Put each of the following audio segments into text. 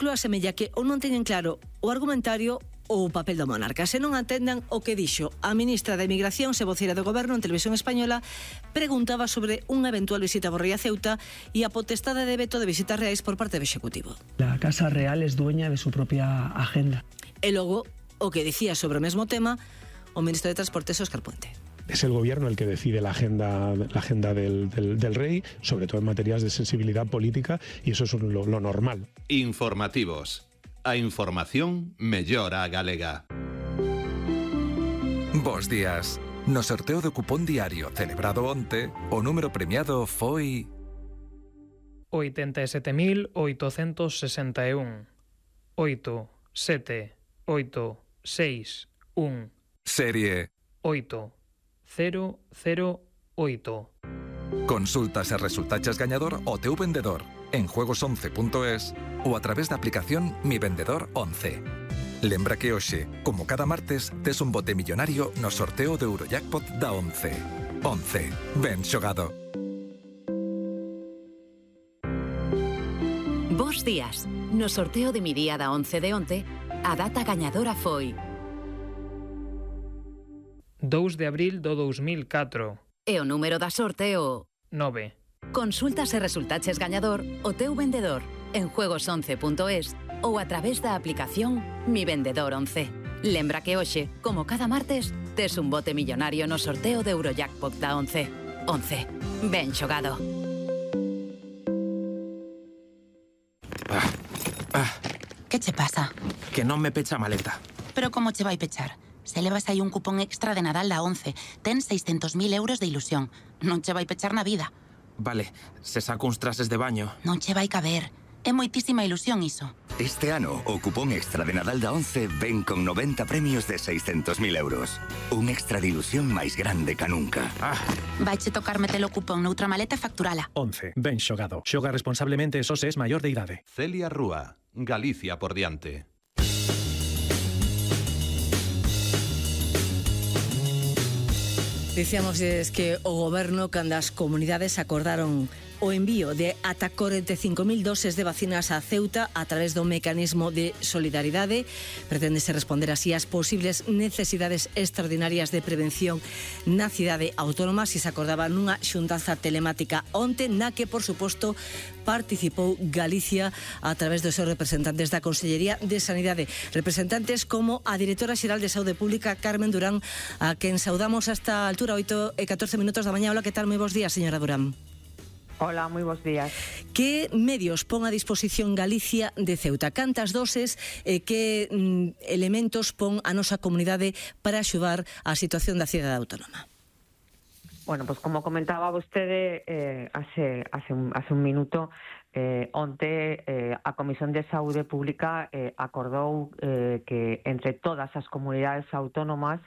ciclo asemella que ou non teñen claro o argumentario ou o papel do monarca. Se non atendan o que dixo a ministra de Emigración, se voceira do Goberno en Televisión Española, preguntaba sobre unha eventual visita a Borrell a Ceuta e a potestade de veto de visitas reais por parte do Executivo. La Casa Real es dueña de su propia agenda. E logo, o que dicía sobre o mesmo tema o ministro de Transportes, Óscar Puente. Es el gobierno el que decide la agenda del rey, sobre todo en materias de sensibilidad política, y eso es lo normal. Informativos. A información mellora a galega. Bos días. No sorteo do cupón diario celebrado onte, o número premiado foi 87.861. 8, 7, 8, 6, 1. serie 8, 0, 0, 8. Consultas e resultaches gañador o teu vendedor en juegos11.es ou a través da aplicación Mi Vendedor 11. Lembra que hoxe, como cada martes, tes un bote millonario no sorteo do Eurojackpot da 11. 11. Ben xogado. Bos días. No sorteo de Mi Día da 11 de onte, a data gañadora foi 2 de abril do 2004. e o número da sorte o 9. Consulta se resultaches gañador o teu vendedor en juegos11.es ou a través da aplicación Mi Vendedor 11. Lembra que hoxe, como cada martes, tes un bote millonario no sorteo de Eurojackpot da 11. 11. Ben xogado. Que che pasa? Que non me pecha a maleta. Pero como che vai pechar? Se levas aí un cupón extra de Nadal da 11, ten 600.000 euros de ilusión. Non che vai pechar na vida. Vale, se saco uns trases de baño. Non che vai caber. É moitísima ilusión iso. Este ano, o cupón extra de Nadal da 11 ven con 90 premios de 600.000 euros. Un extra de ilusión máis grande ca nunca. Vaiche tocar metelo cupón noutra maleta e facturala. 11. Ben xogado. Xoga responsablemente, só se es maior de idade. Celia Rúa, Galicia por diante. Dicíamos que o Goberno, cando as comunidades acordaron o envío de ata 45.000 doses de vacinas a Ceuta a través do mecanismo de solidaridade, preténdese responder así ás posibles necesidades extraordinarias de prevención na cidade autónoma. Se acordaba nunha xuntanza telemática onte, na que, por suposto, participou Galicia a través dos seus representantes da Consellería de Sanidade. Representantes como a directora xeral de Saúde Pública, Carmen Durán, a quen saudamos hasta a altura 8:14 da mañá. Hola, que tal? Moi bons días, señora Durán. Hola, moi bons días. Que medios pon a disposición Galicia de Ceuta? Cantas doses e que elementos pon a nosa comunidade para axudar a situación da cidade autónoma? Bueno, pues como comentaba vostede hace un minuto, onte a Comisión de Saúde Pública acordou que entre todas as comunidades autónomas,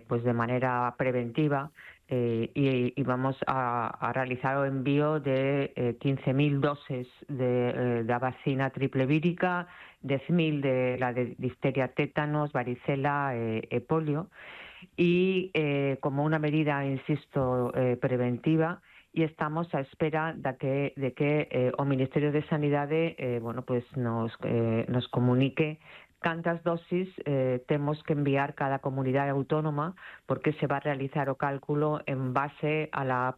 pues de maneira preventiva, y vamos a realizar o envío de 15.000 doses de la vacina triple vírica, 10.000 de la de difteria, tétanos, varicela e polio, y como una medida, insisto, preventiva, y estamos a espera de que o Ministerio de Sanidade bueno, pues nos comunique cantas dosis temos que enviar cada comunidade autónoma, porque se va a realizar o cálculo en base a la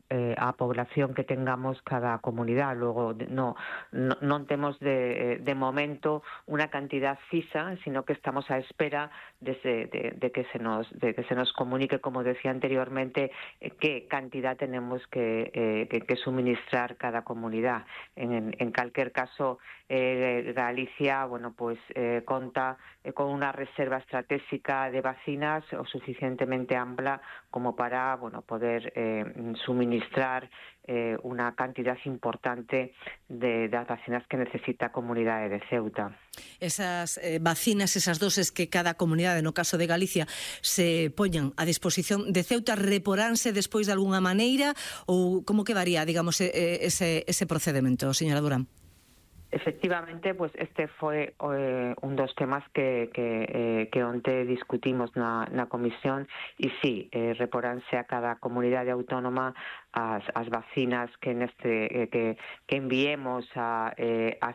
población que tengamos cada comunidade. Luego non temos de momento unha cantidad fisa, sino que estamos a espera de que se nos comunique, como decía anteriormente, qué cantidad tenemos que suministrar cada comunidade. En calquer caso, Galicia, bueno, pues conta con una reserva estratégica de vacinas o suficientemente amplia como para, bueno, poder suministrar una cantidad importante de las vacinas que necesita a comunidade de Ceuta. Esas vacinas, esas doses que cada comunidade, no caso de Galicia, se poñan a disposición de Ceuta, reporánse despois de algunha maneira ou como quedaría, digamos, ese procedimento, señora Durán? Efectivamente, pues este fue un dos temas que onte discutimos na comisión, e sí, reporánse a cada comunidade autónoma as vacinas que enviemos a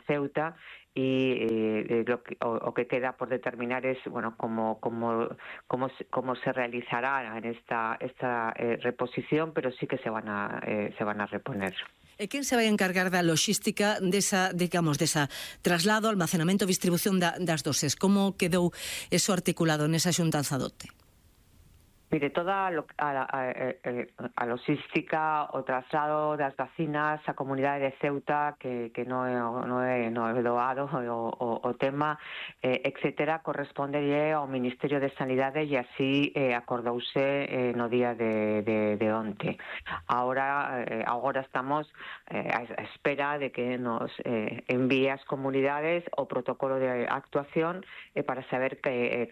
Ceuta, y lo que queda por determinar es, bueno, cómo se realizará en esta reposición, pero sí que se van a reponer. E quen se vai encargar da logística desa traslado, almacenamento, distribución das doses? Como quedou eso articulado nesa xuntanza do OTE? Mire, toda a logística, o traslado das vacinas á comunidade de Ceuta, que non é doado o tema, etcétera, correspondelle ao Ministerio de Sanidade e así acordouse no día de onte. Agora estamos a espera de que nos envíe ás comunidades o protocolo de actuación para saber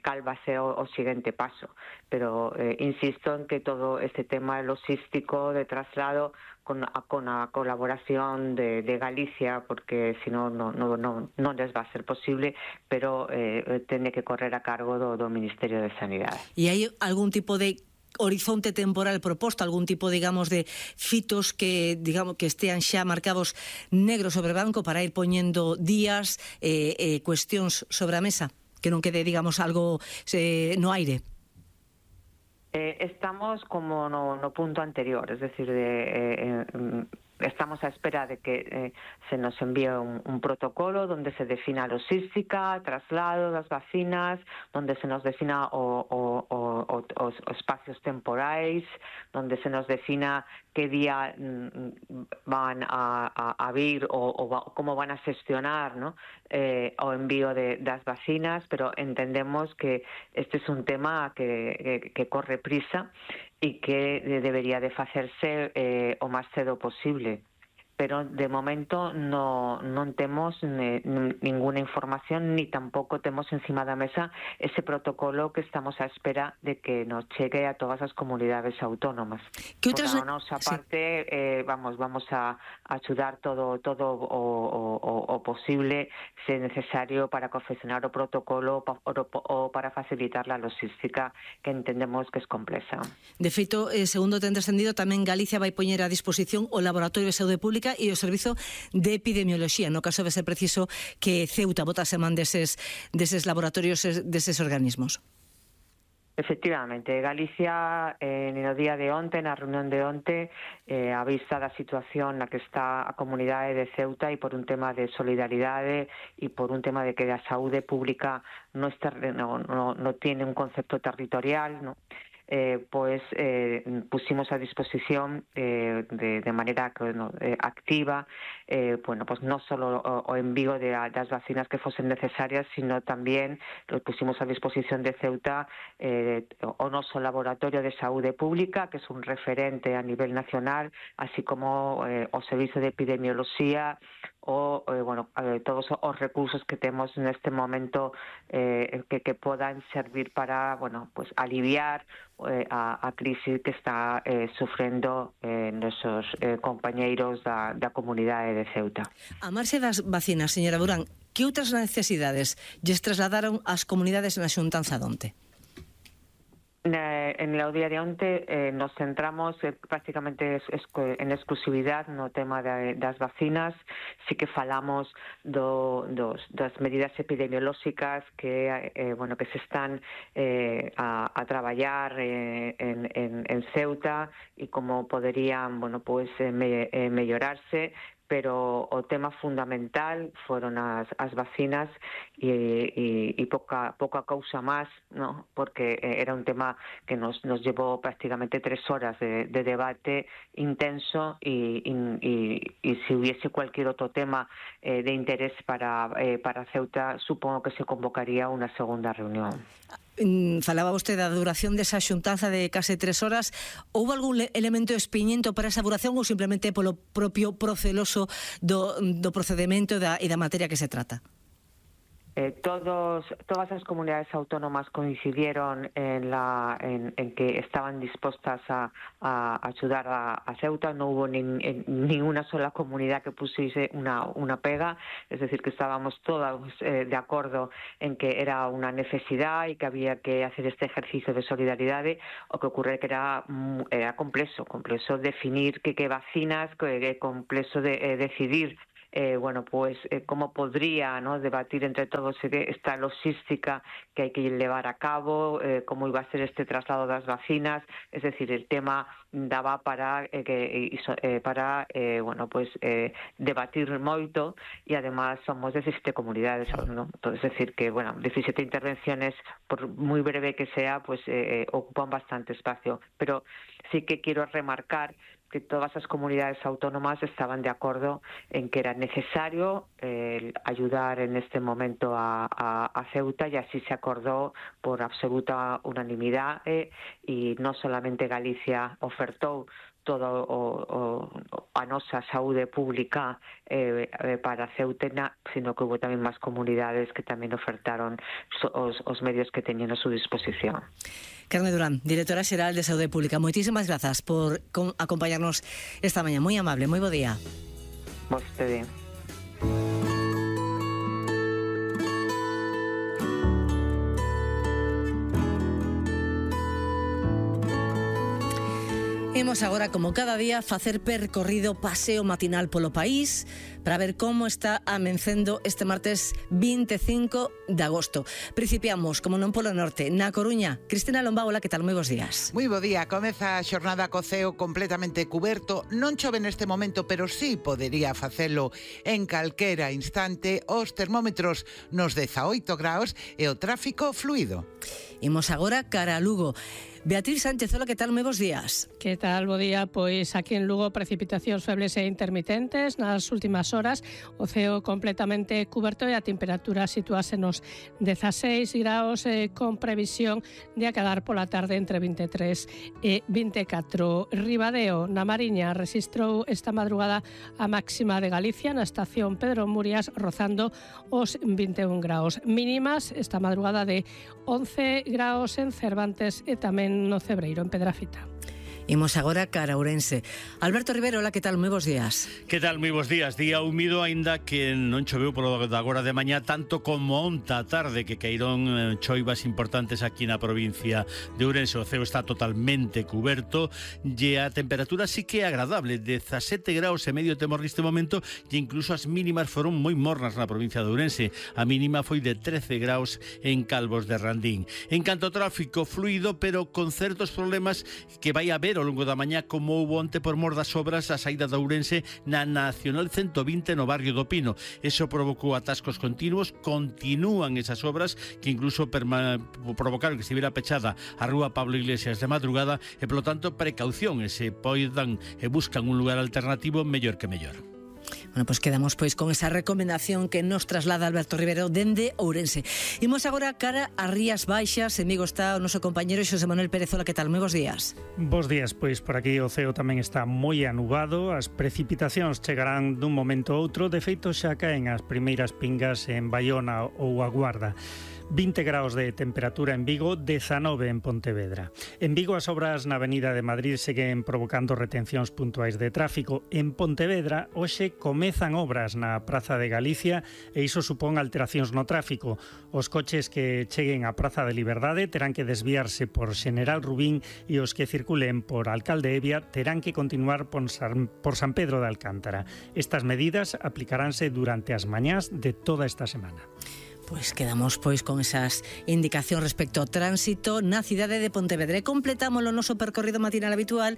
cal va a ser o seguinte paso. Pero insisto en que todo este tema logístico de traslado con a colaboración de Galicia, porque si no les va a ser posible, pero tiene que correr a cargo do Ministerio de Sanidade. E hai algún tipo de horizonte temporal proposto, algún tipo, digamos, de fitos que estean xa marcados negro sobre branco para ir poñendo días, cuestións sobre a mesa, que non quede, digamos, algo no aire? Estamos como no punto anterior, es decir, estamos a espera de que se nos envíe un protocolo donde se defina a logística, traslado das vacinas, donde se nos defina os espacios temporais, donde se nos defina que día van a vir ou como van a xestionar, ¿no? O envío das vacinas, pero entendemos que este es un tema que corre prisa y que debería de facerse o máis cedo posible. Pero de momento non temos ninguna información ni tampouco temos encima da mesa ese protocolo que estamos a espera de que nos chegue a todas as comunidades autónomas. Por a nosa parte, vamos a axudar todo o posible, se necesario, para confeccionar o protocolo ou para facilitar a logística, que entendemos que é complexa. De feito, segundo ten descendido, tamén Galicia vai poñer a disposición o Laboratorio de Saúde Pública e o Servizo de Epidemioloxía, no caso de ser preciso que Ceuta botase man deses laboratorios, deses organismos. Efectivamente, Galicia no día de onte, na reunión de onte, a vista da situación na que está a comunidade de Ceuta e por un tema de solidaridade e por un tema de que a saúde pública no tiene un concepto territorial, ¿no? Pusimos a disposición de manera activa pues no solo o envío de las vacinas que fuesen necesarias, sino también lo pusimos a disposición de Ceuta o noso Laboratorio de Saúde Pública, que es un referente a nivel nacional, así como o Servicio de Epidemioloxía o todos os recursos que temos neste momento que podan servir para pues aliviar a crisis que está sufrendo nosos compañeiros da comunidade de Ceuta. A marxe das vacinas, señora Durán, que outras necesidades lles trasladaron ás comunidades na xuntanza de onte? En el día de onte nos centramos prácticamente en exclusividade no tema das vacinas. Sí que falamos das medidas epidemiolóxicas que se están a traballar en Ceuta e como poderían mellorarse, pero o tema fundamental foron as vacinas e pouca cousa máis, ¿no? Porque era un tema que nos llevou prácticamente 3 horas de debate intenso e se hubiese cualquier outro tema de interés para Ceuta, supongo que se convocaría unha segunda reunión. Falaba vostede da duración desa xuntanza de case 3 horas. Houve algún elemento espiñento para esa duración ou simplemente polo propio proceloso do procedimento e da materia que se trata? Todas as comunidades autónomas coincidieron en que estaban dispostas a ayudar a Ceuta. No hubo ni una sola comunidad que pusiese una pega, es decir, que estábamos todos de acuerdo en que era una necesidad y que había que hacer este ejercicio de solidaridade. O que ocurre que era complejo definir que vacinas, complejo decidir cómo podría, ¿no?, debatir entre todos esta logística que hay que llevar a cabo, cómo iba a ser este traslado das vacinas. Es decir, el tema daba para debatir moito, e además somos 17 comunidades, ¿no? Entonces, es decir que 17 intervenciones, por muy breve que sea, ocupan bastante espacio, pero sí que quiero remarcar que todas las comunidades autónomas estaban de acuerdo en que era necesario ayudar en este momento a Ceuta, y así se acordó por absoluta unanimidad, y no solamente Galicia ofertou todo a nosa saúde pública para Ceuta, sino que hubo tamén máis comunidades que tamén ofertaron os medios que teñen a súa disposición. Carme Durán, directora xeral de Saúde Pública, moitísimas grazas por acompañarnos esta mañá. Moi amable, moi bo día. Vostede. Imos agora, como cada día, facer percorrido paseo matinal polo país para ver como está amencendo este martes 25 de agosto. Principiamos, como non, polo norte, na Coruña. Cristina Lombao, hola, que tal? Moi bons días. Moi bo día. Comeza a xornada co ceo completamente cuberto. Non chove neste momento, pero sí podería facelo en calquera instante. Os termómetros nos 18 graus e o tráfico fluido. Imos agora cara a Lugo. Beatriz Sánchez, hola, que tal? Moi bons días. Que tal? Bo día. Pois aquí en Lugo precipitacións febles e intermitentes nas últimas horas, o ceo completamente cuberto e a temperatura situase nos 16 graus con previsión de acadar pola tarde entre 23 e 24. Ribadeo, na Mariña, rexistrou esta madrugada a máxima de Galicia na estación Pedro Murias, rozando os 21 graus. Mínimas esta madrugada de 11 graus en Cervantes e tamén no Cebreiro, en Pedrafita. Imos agora cara a Ourense. Alberto Rivero, hola, que tal? Moi bons días. Que tal? Moi bons días. Día húmido, aínda que non choveu polo de agora de mañá tanto como onta a tarde, que caíron choivas importantes aquí na provincia de Ourense. O ceo está totalmente cuberto e a temperatura sí que é agradable, 17 graus e medio temos neste momento, e incluso as mínimas foron moi mornas na provincia de Ourense. A mínima foi de 13 graus en Calvos de Randín. En canto ao tráfico, fluido, pero con certos problemas que vai haber ao longo da mañá, como houve onte por mor das obras a saída de Ourense na Nacional 120 no barrio do Pino. Eso provocou atascos continuos. Continúan esas obras que incluso provocaron que estivera pechada a rúa Pablo Iglesias de madrugada, e polo tanto precaución, e se poidan e buscan un lugar alternativo, mellor que mellor. Bueno, pois quedamos con esa recomendación que nos traslada Alberto Rivero dende Ourense. Imos agora cara a Rías Baixas. En Vigo está o noso compañeiro Xosé Manuel Pérez. Ola, que tal? Moi bons días. Bos días, pois por aquí o ceo tamén está moi anubado. As precipitacións chegarán dun momento a outro. De feito, xa caen as primeiras pingas en Baiona ou a Guarda. 20 graus de temperatura en Vigo, 19 en Pontevedra. En Vigo as obras na Avenida de Madrid seguen provocando retencións puntuais de tráfico. En Pontevedra hoxe comezan obras na Praza de Galicia e iso supón alteracións no tráfico. Os coches que cheguen á Praza de Liberdade terán que desviarse por Xeneral Rubín e os que circulen por Alcalde Evia terán que continuar por San Pedro de Alcántara. Estas medidas aplicaránse durante as mañás de toda esta semana. Pois quedamos con esas indicacións respecto ao tránsito na cidade de Pontevedra. E completamos o noso percorrido matinal habitual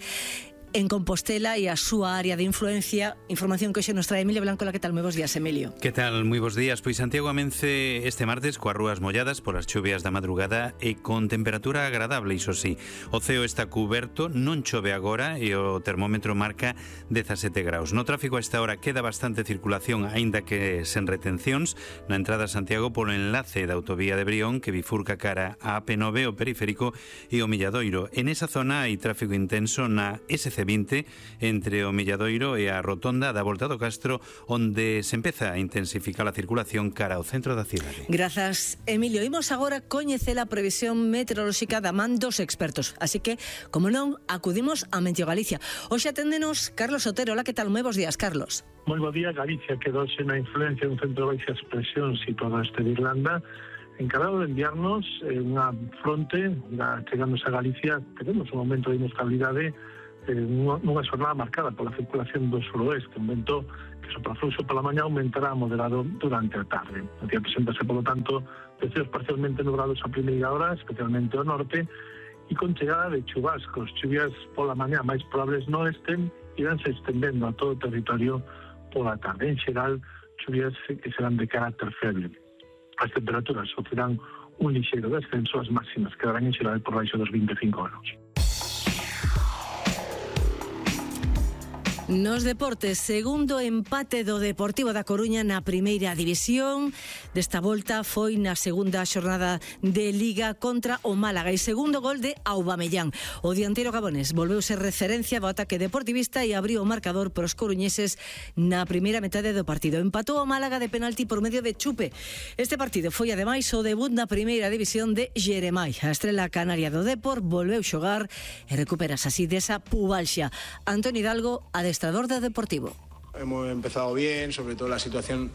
en Compostela e a súa área de influencia. Información que hoxe nos trae Emilio Blanco. La, que tal? Moi bons días, Emilio. Que tal? Moi bons días. Pois Santiago amence este martes coas rúas molladas polas chuvias da madrugada e con temperatura agradable, iso sí. O ceo está cuberto, non chove agora e o termómetro marca 17 graus. No tráfico a esta hora queda bastante circulación, aínda que sen retencións, na entrada a Santiago polo enlace da autovía de Brión que bifurca cara a AP9, o periférico e o Milladoiro. En esa zona hai tráfico intenso na SC20 entre o Milladoiro e a rotonda da Volta do Castro, onde se empeza a intensificar a circulación cara ao centro da cidade. Grazas, Emilio. Imos agora coñecer a previsión meteorolóxica da man dos expertos, así que, como non, acudimos a Meteo Galicia. Hoxe aténdenos Carlos Otero. Ola, que tal? Moi bons días, Carlos. Moi bo día. Galicia quedouse na influencia dun centro de baixas presións situado este de Irlanda, encarado de enviarnos unha fronte chegándose a Galicia. Tenemos un momento de inestabilidade nunha xornada marcada pola circulación do suroeste, un vento que que sopra fluxo pola mañá aumentará moderado durante a tarde. O día presentase, polo tanto, de cielos parcialmente nublados a primeira hora, especialmente ao norte, e con chegada de chubascos. Chuvias pola mañá máis probables no oeste iránse estendendo a todo o territorio pola tarde. En xeral, chuvias que serán de carácter feble. As temperaturas sofrerán un lixeiro descenso, as máximas quedarán en xeral por baixo dos 25 graus. Nos deportes, segundo empate do Deportivo da Coruña na primeira división. Desta volta foi na segunda xornada de Liga contra o Málaga e segundo gol de Aubameyang. O dianteiro gabonés volveuse referencia do ataque deportivista e abriu o marcador pros coruñeses na primeira metade do partido. Empatou o Málaga de penalti por medio de Chupe. Este partido foi ademais o debut na primeira división de Jeremai. A estrela canaria do Depor volveu xogar e recuperas así desa pubalxia. Antoni Hidalgo, adestrador de Deportivo. Hemos empezado bien, sobre todo la situación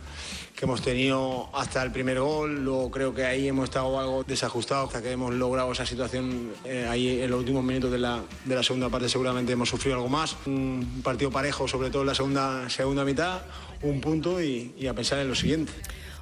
que hemos tenido hasta el primer gol. Luego creo que ahí hemos estado algo desajustados hasta que hemos logrado esa situación ahí en los últimos minutos de la segunda parte. Seguramente hemos sufrido algo más. Un partido parejo, sobre todo en la segunda mitad, un punto y a pensar en lo siguiente.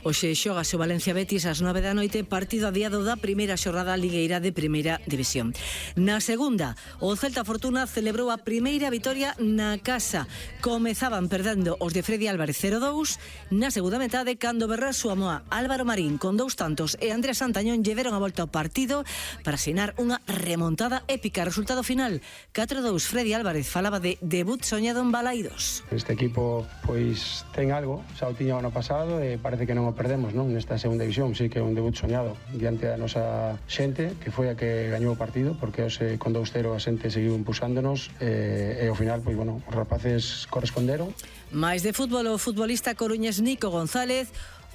Hoxe xogase o Valencia Betis ás 9 da noite, partido adiado da primeira xornada ligueira de primeira división. Na segunda, o Celta Fortuna celebrou a primeira vitoria na casa. Comezaban perdendo os de Freddy Álvarez 0-2, na segunda metade, cando Berrar Suamoa, Álvaro Marín con 2 tantos e Andrés Santañón lle deron a volta ao partido para asinar unha remontada épica. Resultado final, 4-2. Freddy Álvarez falaba de debut soñado en Balaidos. Este equipo pois ten algo, xa o tiña o ano pasado e parece que non perdemos, non? Nesta segunda división, sí que é un debut soñado diante da nosa xente, que foi a que gañou o partido, porque hoxe con 2-0 a xente seguiu impulsándonos e ao final, pois bueno, os rapaces corresponderon. Mais de fútbol, o futbolista coruñés Nico González,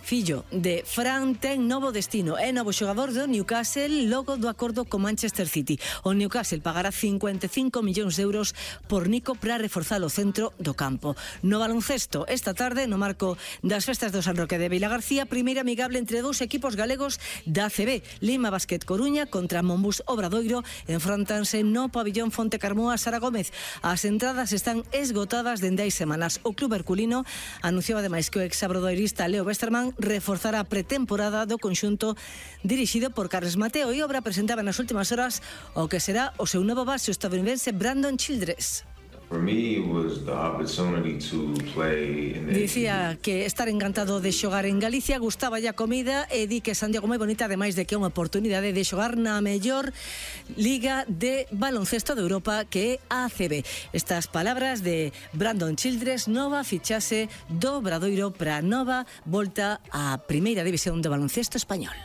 fillo de Fran, ten novo destino. É novo xogador do Newcastle logo do acordo co Manchester City. O Newcastle pagará 55 millóns de euros por Nico para reforzar o centro do campo. No baloncesto, esta tarde, no marco das festas do San Roque de Vilagarcía, primeira amigable entre dous equipos galegos da ACB. Lima Basket Coruña contra Monbus Obradoiro enfrontanse no pabillón Fonte Carmoa Sara Gómez. As entradas están esgotadas dende hai semanas. O club herculino anunciou ademais que o exabradoirista Leo Westerman reforzará a pretemporada do conxunto dirixido por Carles Mateo e Obra presentaba nas últimas horas o que será o seu novo base, o estadounidense Brandon Childress. Dicía que estar encantado de xogar en Galicia, gustaba a comida e di que Santiago moi bonita, ademais de que é unha oportunidade de xogar na mellor liga de baloncesto de Europa, que é a ACB. Estas palabras de Brandon Childress, nova fichase do Obradoiro para nova volta á primeira división de baloncesto español.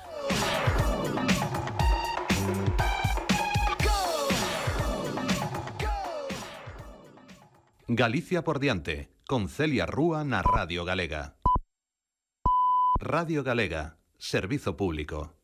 Galicia por diante, con Celia Rúa na Radio Galega. Radio Galega, servizo público.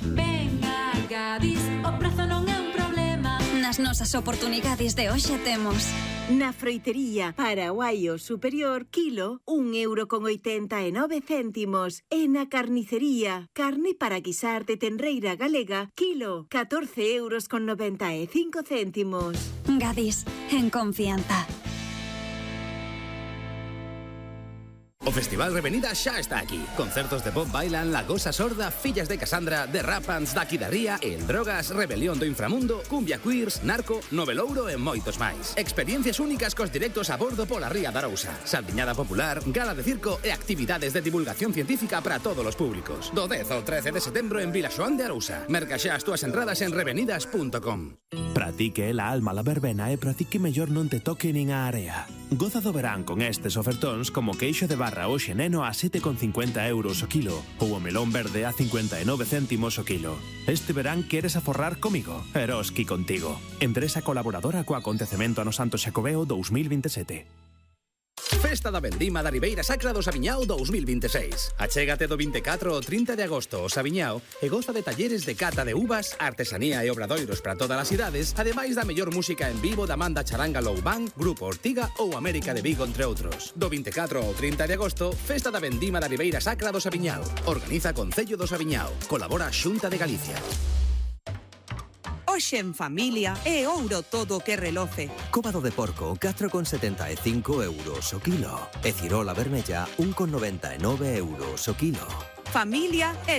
Venga, Gadis, o prezo non é un problema. Nas nosas oportunidades de hoxe temos na froitería Paraguaio Superior, kilo, 1,89 €. E na carnicería, carne para guisar de tenreira galega, kilo, 14,95 €. Gadis, en confianza. O Festival Revenida xa está aquí. Concertos de Bob Bailan, La Gosa Sorda, Fillas de Casandra, The Rapans, Daqui da Ría, El Drogas, Rebelión do Inframundo, Cumbia Queers, Narco, Novelouro e moitos máis. Experiencias únicas cos directos a bordo pola Ría da Arousa. Saldiñada popular, gala de circo e actividades de divulgación científica para todos os públicos. Do 10 ao 13 de setembro en Vilaxoán de Arousa. Merca xa as túas entradas en revenidas.com. Para ti que é la alma la verbena e para ti que mellor non te toque nin a area. Goza do verán con estes ofertóns como queixo de barra hoxe neno a 7,50 € o kilo ou o melón verde a 59 céntimos o kilo. Este verán queres aforrar comigo? Eroski contigo. Empresa colaboradora co acontecemento ano Santo Xacobeo 2027. Festa da Vendima da Ribeira Sacra do Sabiñao 2026. Achégate do 24 ao 30 de agosto ao Sabiñao e goza de talleres de cata de uvas, artesanía e obradoiros para todas as idades, ademais da mellor música en vivo da Manda Charanga Low Band, Grupo Ortiga ou América de Vigo, entre outros. Do 24 ao 30 de agosto, Festa da Vendima da Ribeira Sacra do Sabiñao. Organiza Concello do Sabiñao. Colabora Xunta de Galicia. Hoxe en familia é ouro todo o que reloce. Cóbado de porco, 4,75 euros o kilo. E cirola vermella, 1,99 euros o kilo. Familia e